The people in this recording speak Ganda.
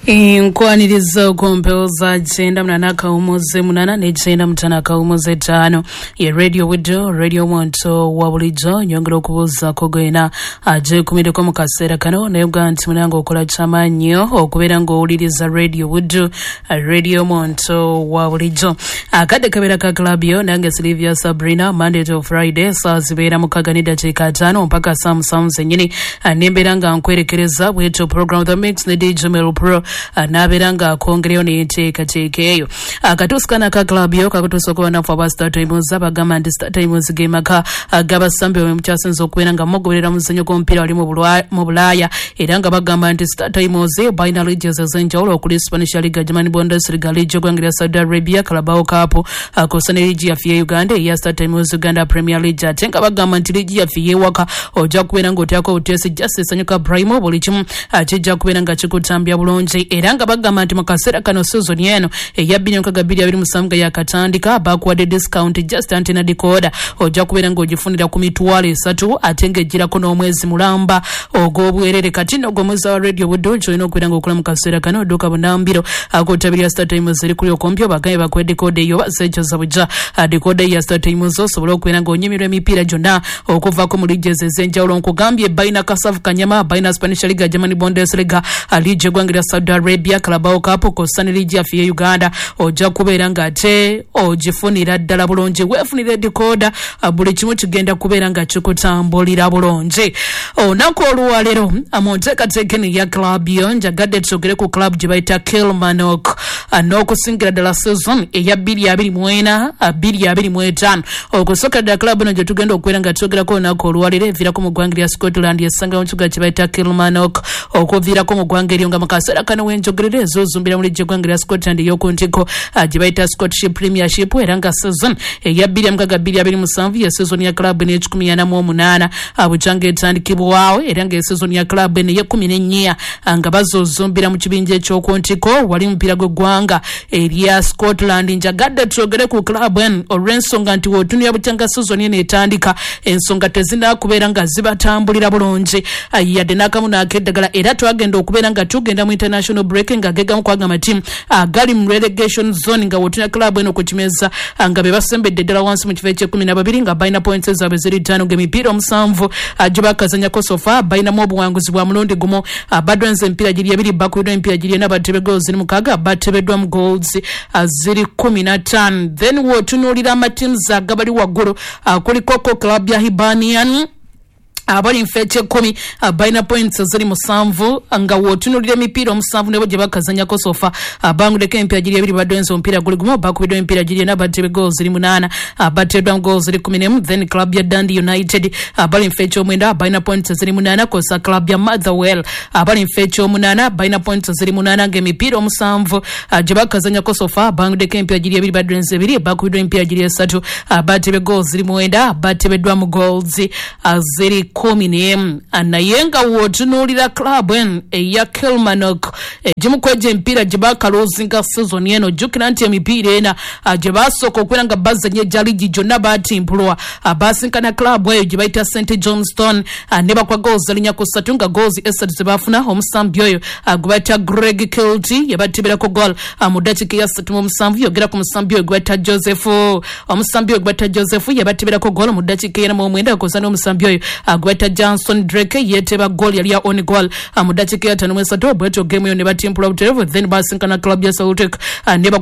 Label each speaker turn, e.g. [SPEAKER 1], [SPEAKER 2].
[SPEAKER 1] Nkwaniriza okumpewoza 98.8 ne 95.5 ye Radio Wido, Radio Omuntu wa bulijjo. Nyongera okubuuzaako gwena agyekumireko mu kaseera kano, naye oga nti munange okola kyamaanyi okubeera ng'owuliriza Radio Wido, Radio Omuntu wa bulijjo. Akadde kabeera ka club yo nange Sylvia Sabrina, Monday to Friday saa zibeera 6:05 mpaka saa 7 zennyini, nembeera nga nkwerekereza bwetyo program The Mix ne DJ Mel Pro nabeera nga akongereyo neteekateeka eyo. Akatuusikana ka club yo kakutuusa okuba naffe aba Star Times, abagamba nti Star Times ge maka g'abasambi bwe mukyasinze okubeera nga mugoberera muzannyo gw'omupiira wali mu Bulaaya, era nga bagamba nti Star Times balina leagues ez'enjawulo okuli Spanish Liga, German Bundesliga, liigi y'eggwanga lya Saudi Arabia, Carabao Cup, kw'ossa ne liigi yaffe ye Uganda eya Star Times Uganda Premier League. Ate nga bagamba nti liigi yaffe y'ewaka ojja kubeera ng'otyako obuteesi just esanyuka Prime, buli kimu kijja kubeera nga kikutambya bulungi. Era nga bagamba nti mu kaseera kano season eno eya 2026 nga yakatandika, bakuwadde discount just antenna decoder ojja kubeera ng'ogifunira ku 300,000 ate ng'egirako n'omwezi mulamba ogw'obwerere. Kati nno gw'omwezi wa Radio Buddo ky'olina okubeera ng'okola mu kaseera kano, odduka bunambiro akotabirya Star Times eri kuli okumpi, obagambe bakuwe decoder eyo baseekyoza bujja decoder ya Star Times osobole okubeera ng'onyumirwa emipiira gyonna okuvaako mu liigi ezo ez'enjawulo. Nkugambye balina kasavu kanyama, balina Spanish Liga, German Bundesliga, liigi y'eggwanga lya Saudi Arabia, Carabao Cup, kw'ossa ne liigi yaffe ye Uganda. Ojja kubeera ng'ate ogifunira ddala bulungi, weefunire decoder, buli kimu kigenda kubeera nga kikutambulira bulungi. Olunaku olwaleero mu nteekateeka eno ya club yo njagadde twogere ku club gye bayita Kilmarnock n'okusingira ddala season eya 2024 2025. Okusookera ddala club eno gye tugenda okubeera nga twogerako olunaku olwaleero eviirako mu ggwanga lya Scotland, esanga mu kibuga kye bayita Kilmarnock, okuviirako mu ggwanga eryo nga mu kaseera kano wenjogerera ezozumbira mu liigi y'eggwanga lya Scotland ey'oku ntikko gye bayita Scottish Premiership, era nga season eya 2026 2027 ye season ya club eno e48 bukyanga etandikibwawo, era nga season ya club eno ey'ekkumi nga bazozumbira mu kibinja eky'oku ntikko wali mupiira gw'eggwanga erya Scotland. Njagadde twogere ku club eno olw'ensonga nti w'otunulira bukyanga season eno etandika, ensonga tezinaakubeera nga zibatambulira bulungi yadde n'akamu n'akeddagala, era twagenda okubeera nga tugenda mu international break nga gegamu kwaga amatiimu agali mu relegation zone, nga w'otunulira club eno ku kimeza nga be basembedde ddala wansi mu kifo eky'ekkumi nga balina points zaabwe ziri 5 ng'emipiira 7 gye bakazannyako so far balinamu obuwanguzi bwa mulundi gumu, badwenze emipiira giri 2, bakubiddwa emipiira giri 4, batebe goals ziri 6, batebeddwa mu goals ziri 15. Then w'otunuulira amatiimu agabali waggulu kuliko ko club ya Hibernian abali nfa eky'ekkumi, balina points ziri 7 nga w'otunuulira emipiira 7 nebo gye bakazannyako so far banguleko emipiira giri 2, badwenze omupiira guli gumu, bakubiddwa emipiira giri 4, batebe goals ziri 8, bateeddwa mu goals ziri 11. Then club ya Dundee United abali nfa eky'omwenda balina points ziri 8, kw'ossa club ya Motherwell abali nfa eky'omunaana balina points ziri 8 ng'emipiira 7 gye bakazannyako so far banguleko emipiira giri 2, badwenze 2, bakubiddwa emipiira giri 3, batebe goals ziri 9, batebeddwa mu goals ziri 11. Naye nga w'otunuulira club eno eya Kilmarnock egimu ku egyo emipiira gye bakalozinga season eno, jjukira nti emipiira ena gye basooka okubeera nga bazannya egya liigi gyonna baatimpulwa, basinkana club eyo gye bayita St Johnstone ne bakwa goals 4-3 nga goals 3 ze baafuna omusambi oyo gwe bayita Greg Kilty yabateberako goal mu ddakiika eya 37. Yogera ku musambi oyo gwe bayita Joseph, omusambi oyo gwe bayita Joseph yabateberako goal mu ddakiika eya 49, kw'ossa n'omusambi oyo gwe bayita Johnson Drake yeeteba goal yali ya own goal mu ddakiika eya 53. Bwetyo game eyo ne batimpula butereevu, then basinkana club ya Celtic ne